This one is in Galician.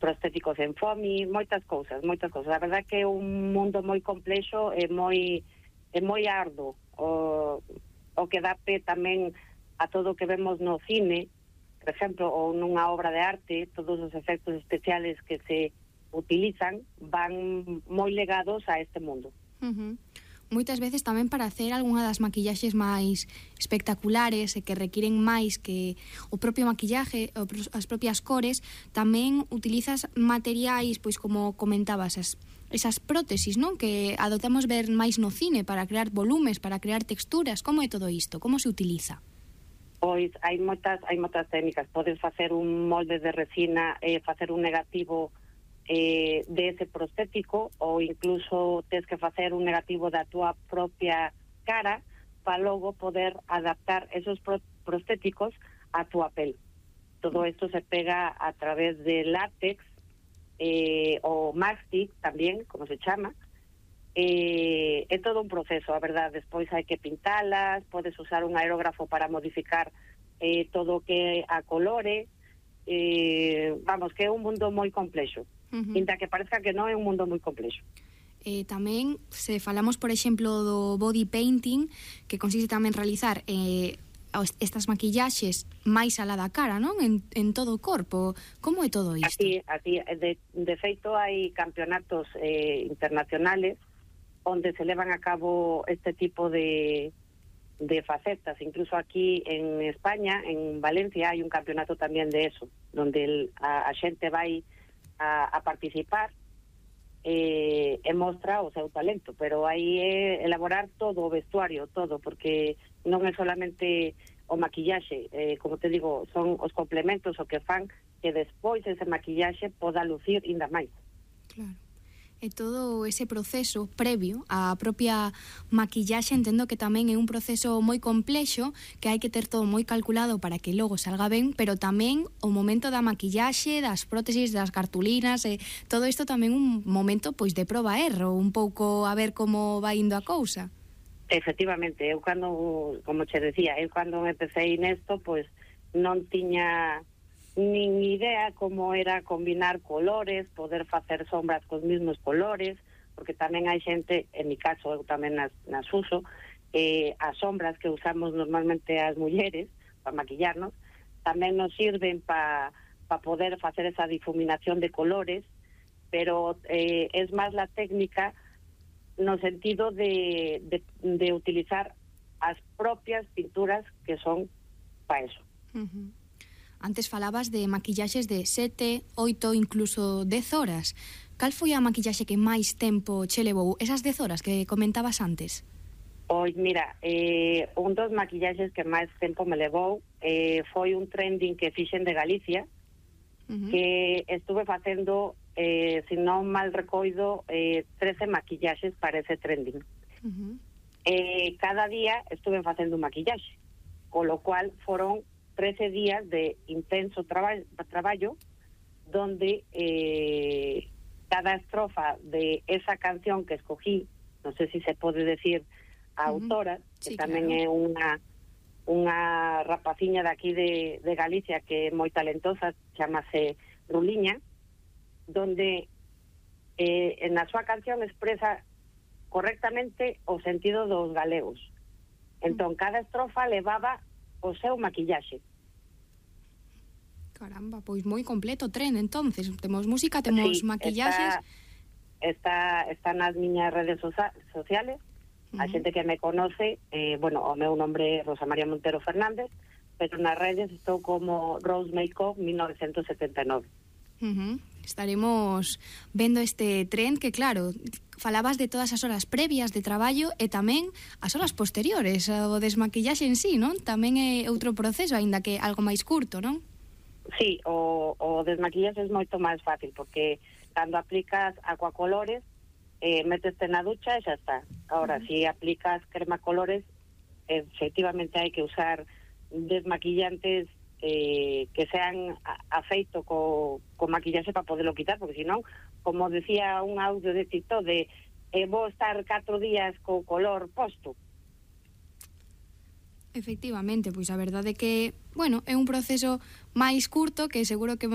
prostéticos en foamy, moitas cousas. A verdad que é un mundo moi complexo e moi arduo o que dá pé tamén a todo o que vemos no cine, por exemplo, ou nunha obra de arte. Todos os efectos especiales que se utilizan van moi legados a este mundo. Moitas veces tamén para hacer algunha das maquillaxes máis espectaculares e que requiren máis que o propio maquillaje, as propias cores, tamén utilizas materiais, pois como comentabas, esas prótesis, non? Que adoptamos ver máis no cine para crear volumes, para crear texturas. Como é todo isto? Como se utiliza? Pois hai moitas técnicas. Podes facer un molde de resina e facer un negativo de ese prostético, ou incluso tens que facer un negativo da túa propia cara para logo poder adaptar esos prostéticos a túa pel. Todo isto se pega a través de látex ou mastic tamén, como se chama. É todo un proceso, a verdade. Despois hai que pintalas, podes usar un aerógrafo para modificar todo o que a colore. Vamos, que é un mundo moi complexo. Inda que parezca que non, é un mundo moi complexo. Tamén, se falamos, por exemplo, do body painting, que consiste tamén en realizar estas maquillaxes máis alá da cara, non? En todo o corpo. Como é todo isto? Así, de feito, hai campeonatos internacionales onde se levan a cabo este tipo de facetas. Incluso aquí en España, en Valencia, hai un campeonato tamén de eso, donde a xente vai a participar e mostra o seu talento, pero aí é elaborar todo o vestuario, todo, porque non é solamente o maquillaxe, como te digo, son os complementos o que fan que despois ese maquillaxe poda lucir ainda máis. Claro. E todo ese proceso previo á propia maquillaxe, entendo que tamén é un proceso moi complexo, que hai que ter todo moi calculado para que logo salga ben, pero tamén o momento da maquillaxe, das prótesis, das cartulinas, todo isto tamén un momento pois de proba e erro, un pouco a ver como vai indo a cousa. Efectivamente, eu cando, como che decía, cando empecé nesto, pois non tiña nin idea como era combinar colores, poder facer sombras cos mismos colores, porque tamén hai xente, en mi caso, eu tamén nas uso, as sombras que usamos normalmente as mulleres para maquillarnos, tamén nos sirven para poder facer esa difuminación de colores, pero es máis la técnica no sentido de utilizar as propias pinturas que son para eso. Antes falabas de maquillaxes de 7, 8, incluso 10 horas. Cal foi a maquillaxe que máis tempo che levou? Esas 10 horas que comentabas antes? Pois mira, un dos maquillaxes que máis tempo me levou foi un trending que fixen de Galicia, que estuve facendo, se non mal recoido, 13 maquillaxes para ese trending. Cada día estuve facendo un maquillaxe, con lo cual foron 13 días de intenso traballo, donde cada estrofa de esa canción que escogí, non sei se pode decir a autora, que tamén é unha rapaciña de aquí de Galicia que é moi talentosa, chamase Ruliña, donde na súa canción expresa correctamente o sentido dos galegos. Entón, cada estrofa levaba o seu maquillaxe. Caramba, pois moi completo tren, entonces. Temos música, temos maquillaxes. Está nas miñas redes sociales. A xente que me conoce, o meu nombre é Rosa María Montero Fernández, pero nas redes estou como Rose Makeup 1979. Estaremos vendo este tren que, claro, falabas de todas as horas previas de traballo e tamén as horas posteriores, o desmaquillaxe en sí, non? Tamén é outro proceso, aínda que algo máis curto, non? Sí, o desmaquillaxe é moito máis fácil, porque cando aplicas acuacolores, meteste na ducha e xa está. Ahora, si aplicas crema colores, efectivamente hai que usar desmaquillantes que sean afeito co maquillaxe para poderlo quitar, porque senón, como decía un audio de TikTok de vou estar 4 días co color posto. Efectivamente, pois a verdade é que, bueno, é un proceso máis curto que seguro que